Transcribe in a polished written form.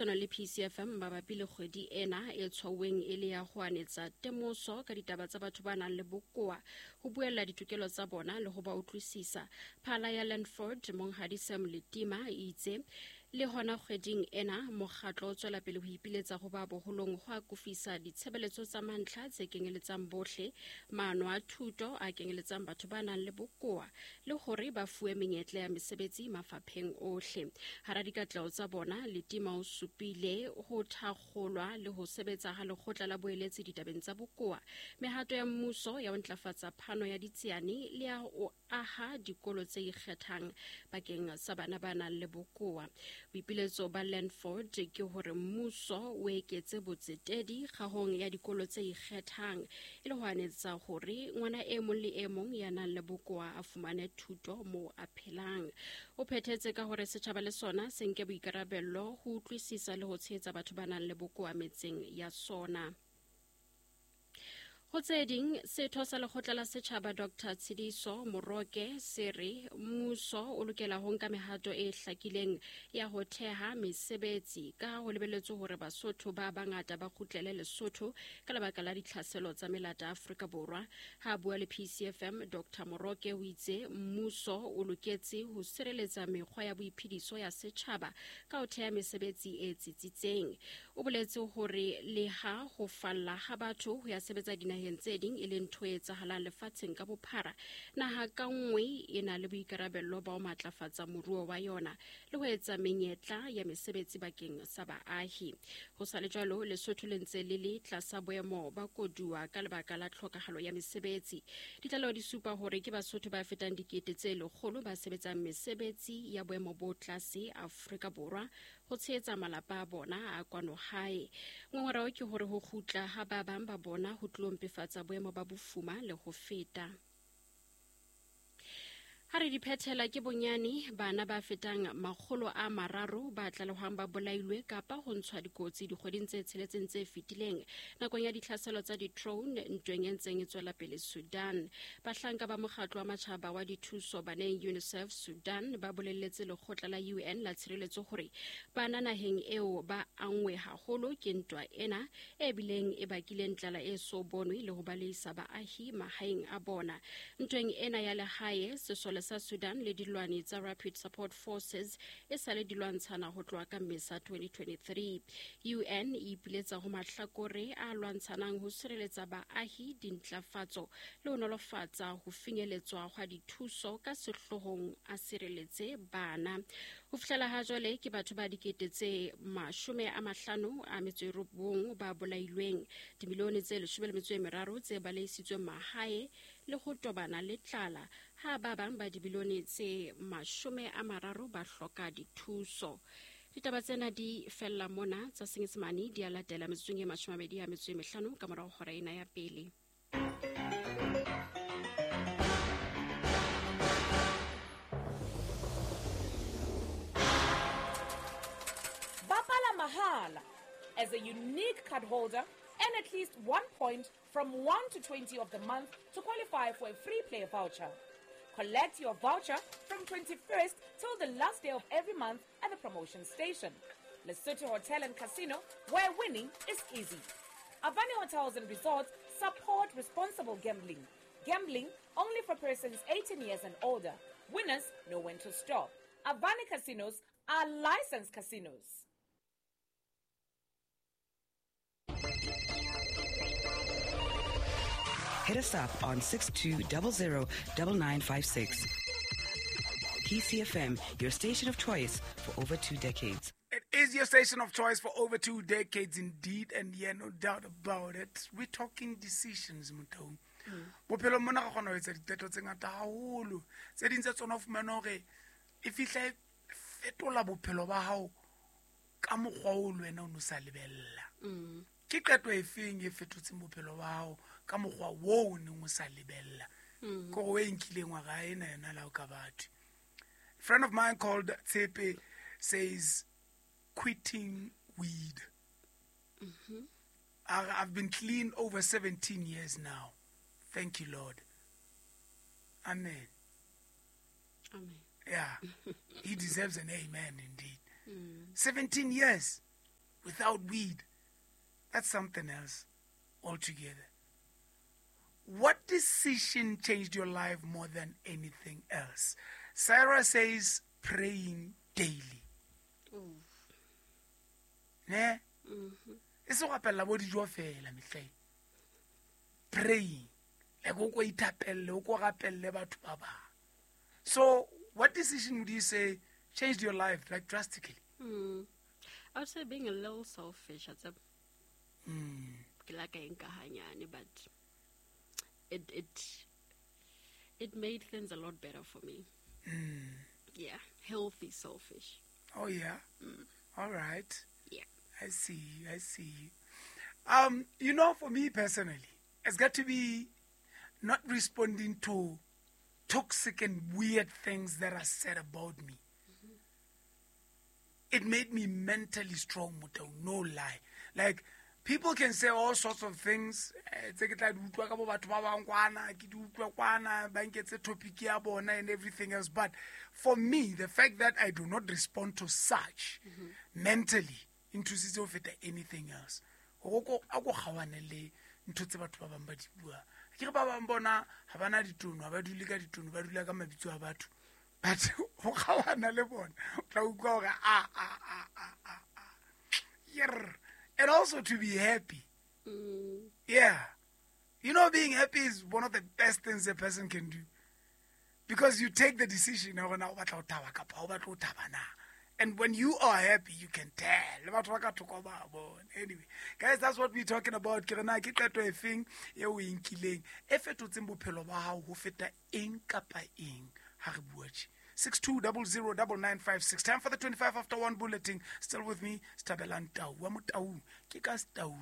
Puisano le PCFM mabapi le kgwedi ena e tshwauweng e le ya ho anetsa temoso ka ditaba tsa batho ba nang le bokowa, ho buella ditokelo tsa bona le ho ba utlwisisa. Phala ya Landford, Monghadi Sam Letima, e itse le hona kgweding ena mokgatlo o tswela pele ho ipiletsa ho ba boholong ho akofisa ditshebeletso tsa mantlha tse kenyeletsang bohle, maano a thuto a kenyeletsang batho ba nang le bokowa le hore ba fuwe menyetla ya mesebetsi mafapheng ohle. Hara dikatleho tsa bona, Letima o supile ho thakgolwa le ho sebetsa ha lekgotla la boeletsi ditabeng tsa bokowa, mehato ya mmuso ya ho ntlafatsa phano ya ditsiane le ya ho aha dikolo tse ikgethang bakeng sa bana ba nang le bokowa. Boipiletso ba Landford ke hore mmuso o eketse botsetedi kgahong ya dikolo tse ikgethang e le ho anetsa hore ngwana e mong le e mong ya nang le bokowa a fumane thuto moo a phelang. O phethetse ka hore setjhaba le sona se nke boikarabello ho utlwisisa le ho tshehetsa batho ba nang le bokowa metseng ya sona. Ho tse ding, setho sa lekgotla la setjhaba Dr Tshidiso Moroke se re mmuso o lokela ho nka mehato e hlakileng ya ho theha mesebetsi ka ho lebelletswe hore Basotho ba bangata ba kgutlele Lesotho ka lebaka la ditlhaselo tsa melata Afrika Borwa. Ha a bua le PCFM, Dr Moroke o itse mmuso o loketse ho sireletsa mekgwa ya boiphediso ya setjhaba ka ho theha mesebetsi e tsitsitseng. O boletse hore leha ho falla ha batho ho ya sebetsa dinaheng tse ding e le ntho e etsahalang lefatsheng ka bophara, naha ka nngwe e na le boikarabello ba ho matlafatsa moruo wa yona le ho etsa menyetla ya mesebetsi bakeng sa baahi. Ho sa le jwalo, Lesotho le ntse le le tlasa boemo ba koduwa ka lebaka la tlhokahalo ya mesebetsi. Ditlaleho di supa hore ke Basotho ba fetang 100,000 ba sebetsang mesebetsi ya boemo bo tlase Afrika Borwa ho tshehetsa malapa a bona a kwano hae. Ngongoreo ke hore ho kgutla ha ba bang ba bona ho tlilo mpefatsa boemo ba bofuma le ho feta. Ha re di phethela ke bonyane bana ba fetang 300 ba tlalehwang ba bolailwe kapa ho ntshwa dikotsi dikgweding tse tsheletseng tse fetileng nakong ya ditlhaselo tsa di-drone ntweng e ntseng e tswela pele Sudan. Bahlanka ba mokgatlo wa matjhaba wa dithuso baneng UNICEF Sudan ba bolelletse lekgotla la UN la tshireletso hore bana naheng eo ba angwe haholo ke ntwa ena e bileng e bakileng tlala e so bonwe le ho baleisa baahi mahaeng a bona. Ntweng ena ya lehae, sesole sa Sudan le dilwani tsa Rapid Support Forces e sale di lwantshana ho tloha ka Mmesa 2023. UN e ipiletsa ho mahlakore a lwantshanang ho sireletsa baahi, dintlafatso le ho nolofatsa ho finyeletswa hwa dithuso ka sehloohong a sireletse bana. Ho fihlela ha jwale ke batho ba 59,000 ba bolailweng, 13 milione tse baleisitsweng mahae le ho tobana le tlala, ha ba bang ba 30 bilione ba hloka dithuso. Ditaba tsena di fella mona. Tsa Senyesemane di a latela metsotsong e 25 ka morao hora ena ya pele. Bapala mahala. As a unique card holder, earn at least 1 point from 1 to 20 of the month to qualify for a free play voucher. Collect your voucher from 21st till the last day of every month at the promotion station. Lesotho Hotel and Casino, where winning is easy. Avani Hotels and Resorts support responsible gambling. Gambling only for persons 18 years and older. Winners know when to stop. Avani Casinos are licensed casinos. Hit us up on 6200 9956. PCFM, your station of choice for over 2 decades. It is your station of choice for over 2 decades indeed, and yeah, no doubt about it. We're talking decisions, Motho. Bophelong mona re kgona ho etsa diqeto tse ngata haholo. Tse ding tsa tsona o fumane hore e fihla e fetola bophelo ba hao ka mokgwa o le wena o no sa lebella. Ke qeto e feng e fetotseng bophelo ba hao ka mokgwa wo o neng o sa lebella? Ke hore o e nkileng wa re ena yona la o ka batho. Friend of mine called Tshepe says quitting weed. I've been clean over 17 years now. Thank you, Lord. Amen. Amen. Yeah, he deserves an amen indeed. 17 years. without weed, that's something else altogether. What decision changed your life more than anything else? Sarah says praying daily. Ne? E se go apella bo dijo fela mehleng. Praying. Like o ko ithapelle, o ko rapelle batho ba bang. So what decision would you say changed your life, like, drastically? I would say being a little selfish. It's a ke la ka eng ka hanyane, but it made things a lot better for me. Yeah, healthy selfish. Oh yeah. All right. Yeah. I see. I see. For me personally, it's got to be not responding to toxic and weird things that are said about me. It made me mentally strong, Motau, no lie. Like, people can say all sorts of things. Tse ke tla di utlwa ka bo batho ba bang kwana, ke di utlwa kwana, ba nketse topic ya bona and everything else. But for me, the fact that I do not respond to such mentally nthusitse ho feta anything else. Hore a ko kgaohane le ntho tse batho ba bang ba di buang. Ke re ba bang bona ha bana ditono, ha ba dule ka ditono, ba dula ka mabitso a batho. But ho kgaohana le bona, o tla utlwa hore a, a, a, a, a, a. Yerr. And also to be happy. Yeah. Being happy is one of the best things a person can do. Because you take the decision, hore na o batla ho thaba kapa ha o batle ho thaba na. And when you are happy, you can tell. Le batho ba ka thoko ba bona. Anyway, guys, that's what we're talking about. Ke re na ke qeto e feng e o e nkileng, e fetotseng bophelo ba hao ho feta eng kapa eng ha re bua tje. 62009956. Time for the 25 after 1 bulletin. Still with me, Stabela Ntau. Wa Motau. Ke ka Stau.